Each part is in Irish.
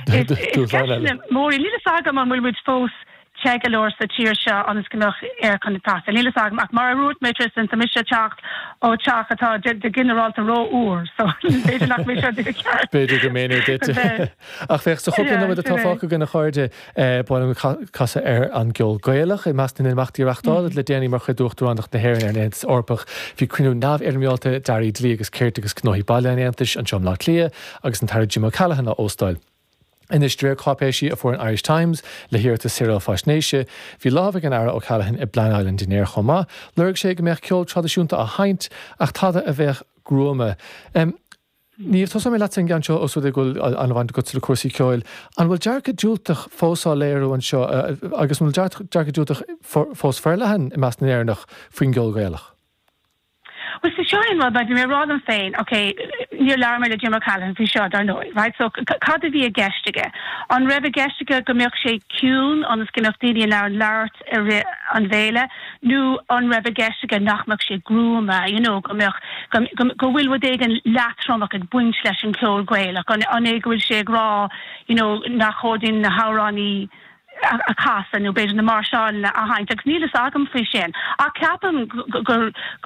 So is ceist mór í. Níl a fhios agam an bhfuil muid fós te go leor sa tír seo ionas go mbeadh aircon ag teastáil. Níl a fhios agam ach mar a dúirt mé Tristan, tá mise ag teacht ó teach atá de ginearálta ró-fhuar so b'fhéidir nach mé seo duine ceart. B'fhéidir go mb'in é duit. Ach féach, sa chúpla nóiméad atá fágtha againn a chairde, ba mhaith liom casadh ar an gceol Gaelach. I measc na n-imeachtaí a reáchtáladh le déanaí mar chuid d'Uachtaránacht na hÉireann ar an Aontas Eorpach, bhí cruinniú neamhfhoirmeálta d'Airí Dlí agus Cirt agus Gnóthaí Baile an Aontais anseo i mBleá Cliath agus an tAire Jim O'Callaghan á óstáil. Anois, de réir cáipéisí a fuair an Irish Times le hiarratas Saoráil Faisnéise, bhí lámh ag an Aire O'Callaghan i bpleanáil an dinnéir chomh maith. Lorg sé go mbeadh ceol traidisiúnta á sheinnt, ach tada a bheadh gruama. Niamh, tosóidh mé leatsa an gceann seo os rud é go bhfuil an-bhaint agatsa le cúrsaí ceoil. An bhfuil dearcadh diúltach fós á léiriú anseo agus an bhfuil dearcadh diúltach fós forleathan i measc na nÉireannach faoin gceol Gaelach? Bhuel, so seo é an rud, like, bhí mé ag rá liom féin, ok, níor labhair mé le Jim O'Callaghan faoi seo, dar ndóigh, right, so cad a bhí i gceist aige? An raibh i gceist aige go mbeadh sé ciúin ionas go mbeadh daoine in ann labhairt i rith an bhéile nó an raibh i gceist aige nach mbeadh sé gruama, you know, go mbeadh, go, go, go bhfuil rud éigin leatromach ag baint leis an cheol Gaelach? An, an é go bhfuil sé ag rá, you know, nach chóir dúinn na hamhráin a chasadh nó b'fhéidir na máirseáileanna a sheinnt agus níl fhios agam faoi sin ach ceapaim go go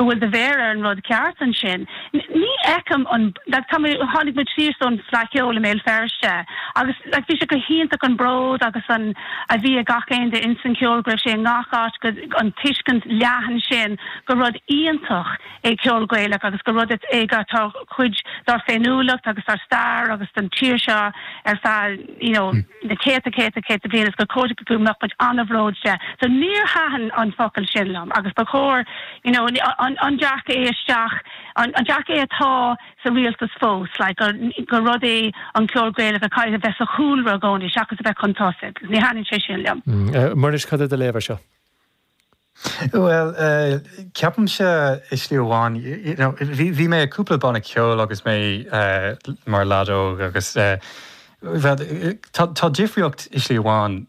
bhfuil do mhéar ar an rud ceart ansin. Ní fheicim an like tá mé tháinig muid síos ón Fleadh Cheoil i mBéal Feirste agus like bhí sé go hiontach an bród agus an a bhí ag gach aon duine ins an cheol go raibh sé i ngach áit go an tuiscint leathan sin gur rud iontach é ceol Gaelach agus gur rud é atá cuid dár féiniúlacht agus dár stair agus don tír seo ar feadh you know na céadta céadta céadta bliain agus gur chóir go mbeadh muid an-bhród de. So níor thaitin an focal sin liom agus ba chóir you know an an dearcadh é isteach an an dearcadh é atá sa rialtas fós like gur gur rud é an ceol Gaelach a chaithfidh a bheith sa chúlra i gcónaí seachas a bheith chun tosaigh. Ní thaitníonn sé sin liom. Muiris, cad é do léamh ar seo? Bhuel, ceapaimse i slí amháin, you know, bhí mé i cúpla banna ceoil agus mé mar leaid óg agus tá difríocht i slí amháin,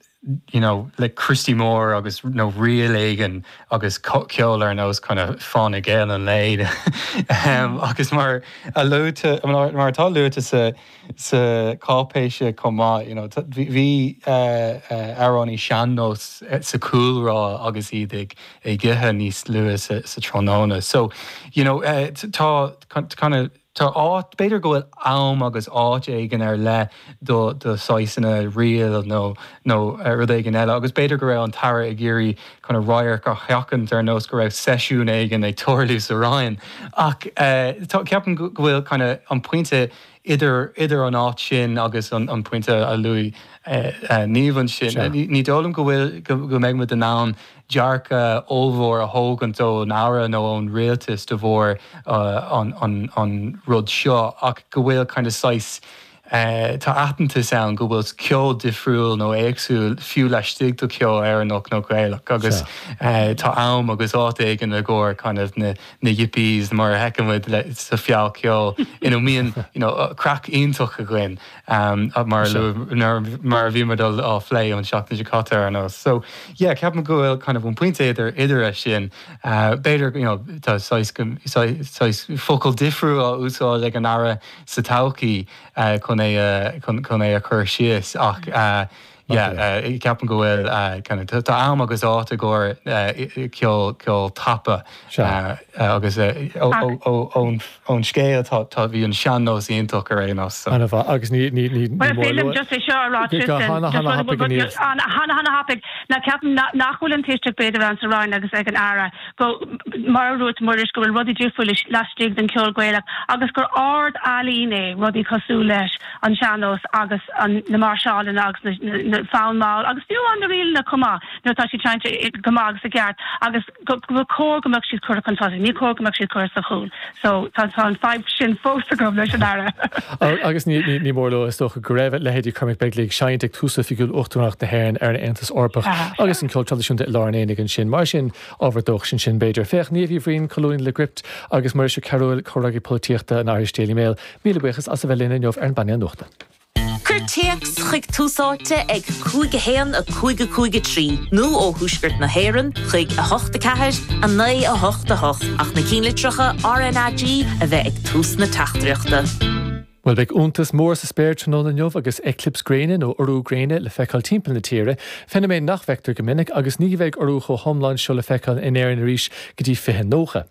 you know, le Christy Moore agus nó ríl éigin agus ceol ar nós kind of Fáinne Geal an Lae agus mar a luaite, mar atá luaite sa sa cháipéis chomh maith. You know, bhí amhránaí sean-nós sa chúlra agus iad ag ag ithe níos luaithe sa tráthnóna. So, you know, tá kind of tá áit, b'fhéidir go bhfuil am agus áit éigin ar leith do do saghsanna ríl nó nó rud éigin eile agus b'fhéidir go raibh an tAire ag iarraidh kind of radharc a sheachaint ar nós go raibh seisiún éigin ag tarlú sa Roinn. Ach tá, ceapaim go bhfuil kind of an pointe idir idir an áit sin agus an an pointe a luaigh Niamh ansin. Ní dóigh liom go bhfuil go mbeidh muid in ann dearcadh ollmhór a thógaint ón Aire nó ón rialtas de bharr an an an rud seo ach go bhfuil kind of saghas Tá aitheantas ann go bhfuil ceol difriúil nó éagsúil fiú laistigh de cheol Éireannach nó Gaelach agus tá am agus áit éigin i gcomhair kind of na na yippies mar a fheiceann muid sa Fleadh Cheoil ina mbíonn you know craic iontach againn mar a mar a bhí muid á phlé an seachtain seo caite ar nós. So yeah ceapaim go bhfuil kind of an pointe idir idir é sin b'fhéidir you know tá saghas saghas focal difriúil á úsáid ag an Aire sa todhchaí chun é chun é a chur síos ach yeah ceapaim go bhfuil kind of tá am agus áit i gcomhair ceol ceol tapa agus ón scéal tá tá bhí an sean-nós iontach ar aon nós so. Ana-mhaith agus ní ní ní ní mór lua just é seo a rá Tristan hana hana thapaidh Niamh. Hana hana thapaidh ná ceapaim nach bhfuil an tuiscint b'fhéidir ann sa Roinn agus ag an Aire go, mar a dúirt Muiris, go bhfuil rudaí difriúil laistigh den cheol Gaelach agus gur ard-ealaín é rudaí cosúil leis an sean-nós agus na máirseálanna agus na fonn mall agus fiú amháin na ríleanna chomh maith nuair atá siad seinnte go maith agus i gceart agus go gur cóir go mbeadh siad curtha chun tosaigh, ní cóir go mbeadh siad curtha sa chúl. So tá an fadhb sin fós agam leis an Aire. Agus ní mór a lua, is dócha, go raibh leithéidí Cormac Begley ag seinnt ag tús oifigiúil Uachtaránacht na hÉireann ar an Aontas Eorpach agus an ceol traidisiúnta i lár an aonaigh ansin. Mar sin, ábhar dóchais ansin, b'fhéidir. Féach, Niamh Uí Bhraoin, Colúnaí le Gript, agus Muiris Ó Cearúil, Comhfhreagraí Polaitíochta an Irish Daily Mail, míle buíochas as a bheith linn inniu ar an bPainéal Nuachta. Cuir téacs chuig Tús Áite ag 5 1 5 5 3 nó ó Thuaisceart na hÉireann chuig 8 4 9 8 8 ach na cinnlitreacha RnaG a bheith ag tús na teachtaireachta. Bhuel, beidh iontas mór sa spéir tráthnóna inniu agus eiclips gréine, nó urú gréine, le feiceáil timpeall na tíre, feiniméan nach bhfeictear go minic agus ní bheidh urú chomh hiomlán seo le feiceáil in Éirinn arís go dtí 2090.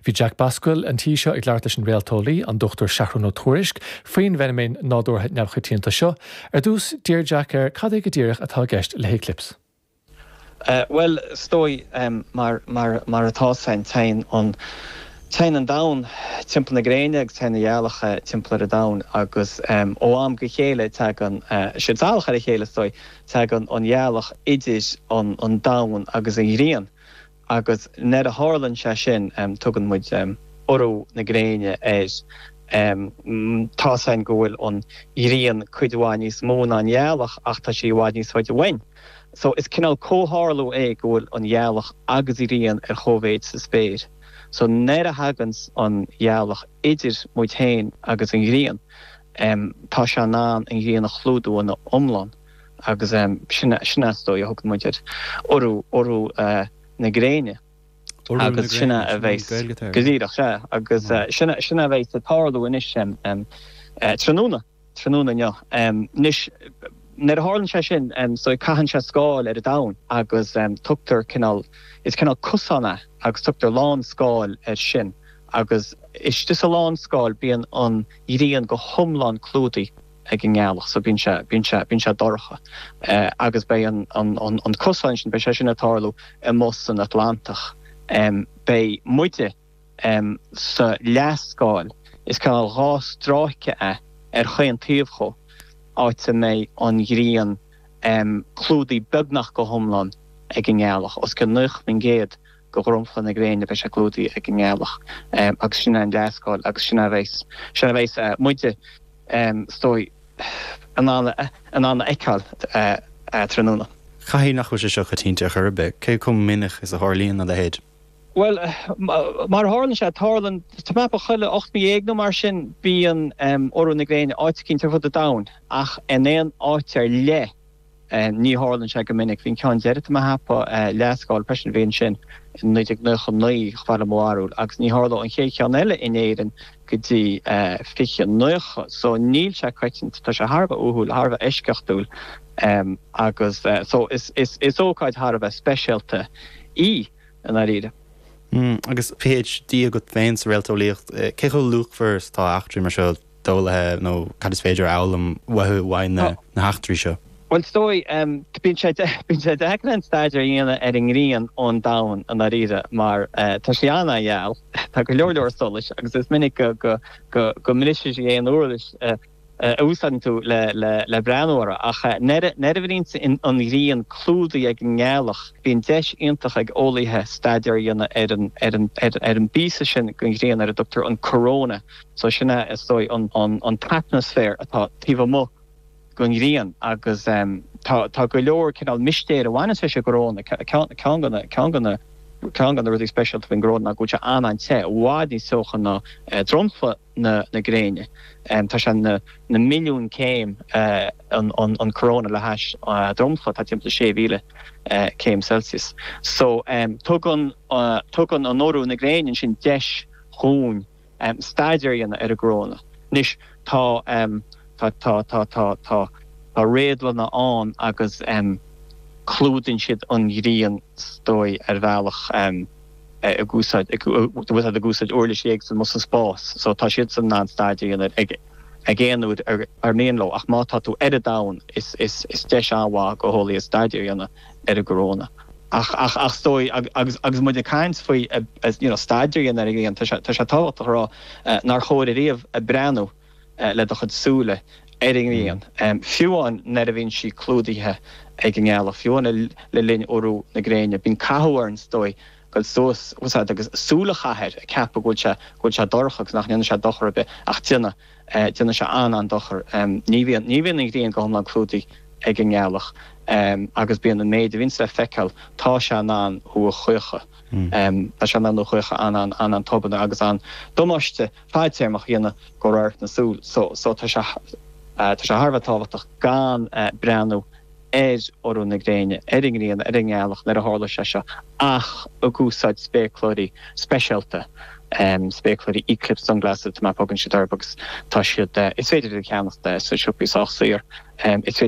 Bhí Jack Basquill an tí seo ag labhairt leis an réalteolaí, an Dr Seathrún Ó Tuairisg, faoin bhfeiniméan nádúrtha neamhchoitianta seo. Ar dtús, d'iarr Jack air cad é go díreach atá i gceist le héiclips. Bhuel, is dóigh, mar, mar, mar atá 's againn, téann an, téann an domhan timpeall na gréine agus téann an ghealach timpeall ar an domhan agus ó am go chéile tagann siad salach ar a chéile, is dóigh, tagann an ghealach idir an, an domhan agus an ghrian. Agus nuair a tharlann sé sin, tugann muid urú na gréine air. Tá 's againn go bhfuil an ghrian cuid mhaith níos mó ná an ghealach ach tá sí i bhfad níos faide uainn. So is cineál comhtharlú é go bhfuil an ghealach agus an ghrian ar chóimhéid sa spéir. So nuair a thaganns an ghealach idir muid féin agus an ghrian, tá sé in ann an ghrian a chlúdú ina iomlán. Agus sin é is dóigh a thugann muid air, urú, urú na gréine. Agus sin é a bheas, go díreach, sea, agus sin é, sin é a bheas ag tarlú anois tráthnóna, tráthnóna inniu. Anois, nuair a tharlann sé sin, so caitheann sé scáil ar an domhan agus tugtar cineál, is cineál cosán é agus tugtar lánscáil air sin agus istigh sa lánscáil bíonn an ghrian go hiomlán clúdaithe. ag an ngealach so bíonn sé, bíonn sé, bíonn sé dorcha agus beidh an, an, an, an cosán sin, beidh sé sin ag tarlú amuigh san Atlantach. Beidh muide sa leathscáil, is cineál 2 stráice é ar chaon taobh dhó, áit a mbeidh an ghrian clúdaithe beagnach go hiomlán ag an ngealach, os cionn 90% de dhromchla na gréine, beidh sé clúdaithe ag an ngealach agus sin é an leathscáil agus sin é a bheas, sin é a bheas muide is dóigh, in ann in ann a fheiceáil tráthnóna. Caithfidh nach bhfuil sé seo coitianta ar chor ar bith. Cé chomh minic is a tharlaíonn a leithéid? Bhuel, mar a tharlann sé, tarlann, tá mé ag ceapadh chuile 18 mí nó mar sin bíonn urú na gréine áit eicínt ar fud an domhain ach in aon áit ar leith Ní tharlann sé go minic. Bhí an ceann deiridh, tá mé ag ceapadh, leathscáil freisin, bhí ansin in 1999, chomh fada le mo bharúil, agus ní tharlóidh an chéad cheann eile in Éirinn go dtí 2090. So níl sé coitianta, tá sé thar a bheith uathúil, thar a bheith eisceachtúil agus so is ócáid thar a bheith speisialta í i ndáiríre. Agus PhD agat féin sa réalteolaíocht, cé chomh luachmhar is atá eachtraí mar seo? d'eolaithe nó cad is féidir a fhoghlaim uathu uaidh na heachtraí seo? Bhuel, is dóigh, bíonn sé bíonn sé deacair an staidéar a dhéanamh ar an ngrian ón domhan i ndáiríre mar tá sí an-an-gheal, tá go leor leor solais agus is minic go go go go mbriseann sí aon uirlis a úsáideann tú le le le breathnú uirthi. Ach nuair nuair a bhíonn an ghrian clúdaithe ag an ngealach, bíonn deis iontach ag eolaithe staidéar a dhéanamh ar an ar an ar an bpíosa sin den ghrian ar a dtugtar an coróna. So sin é, is dóigh, an t-atmaisféar atá taobh amuigh den ghrian agus tá tá go leor cineál mistéir a bhaineanns leis an gcoróna. Ceann de na ceann de na ceann de na rudaí speisialta faoin gcoróna ná go bhfuil sé an-an-te, i bhfad níos teocha ná dromchla na na gréine. Tá sé na na milliúin céim an an coróna le hais dromchla atá timpeall 6,000 céim Celsius. So tugann tugann an urú na gréine ansin deis dhúinn staidéar a dhéanamh ar an gcoróna. Anois, tá, tá, tá, tá, tá, tá, tá réadlanna ann agus clúdaíonn siad an ghrian, is dóigh, ar bhealach ag úsáid, ag, ag úsáid uirlisí éagsúla amuigh sa spás. So tá siadsan in ann staidéar a dhéanamh ag, ag aon uair ar, ar mian leo. Ach má tá tú ar an domhan, is, is, is deis an-mhaith do eolaithe staidéar a dhéanamh ar an gcoróna. Ach, ach, ach is dóigh, agus, agus muid ag caint faoi, you know, staidéar a dhéanamh ar an ghrian, tá sé, tá sé tábhachtach a rá nár chóir ariamh breathnú le do chuid súile ar an ngrian, fiú amháin nuair a bhíonn sí clúdaithe ag an ngealach, fiú amháin le linn urú na gréine. Bíonn cathú orainn, is dóigh, dul suas, agus súil a chaitheamh air, ag ceapadh go bhfuil sé, go bhfuil sé dorcha agus nach ndéanann sé dochar ar bith, ach déanann. Déanann sé an-an-dochar. Ní bhíonn, ní bhíonn an ghrian go hiomlán clúdaithe ag an ngealach agus bíonn an méid a bhíonns le feiceáil, tá sé in ann thú a chaochadh. Tá sé in ann thú a chaochadh an-an, an-an-tobann agus an-damáiste fadtéarmach a dhéanamh do radharc na súl. So, so tá sé, tá sé thar a bheith tábhachtach gan breathnú ar urú na gréine, ar an ngrian, ar an ngealach nuair a tharla sé seo ach ag úsáid spéacláirí speisialta. Spéacláirí Eclipse Sunglasses mar a thugann siad orthu agus tá siad, is féidir iad a cheannacht sna siopaí sách saor. Is féidir.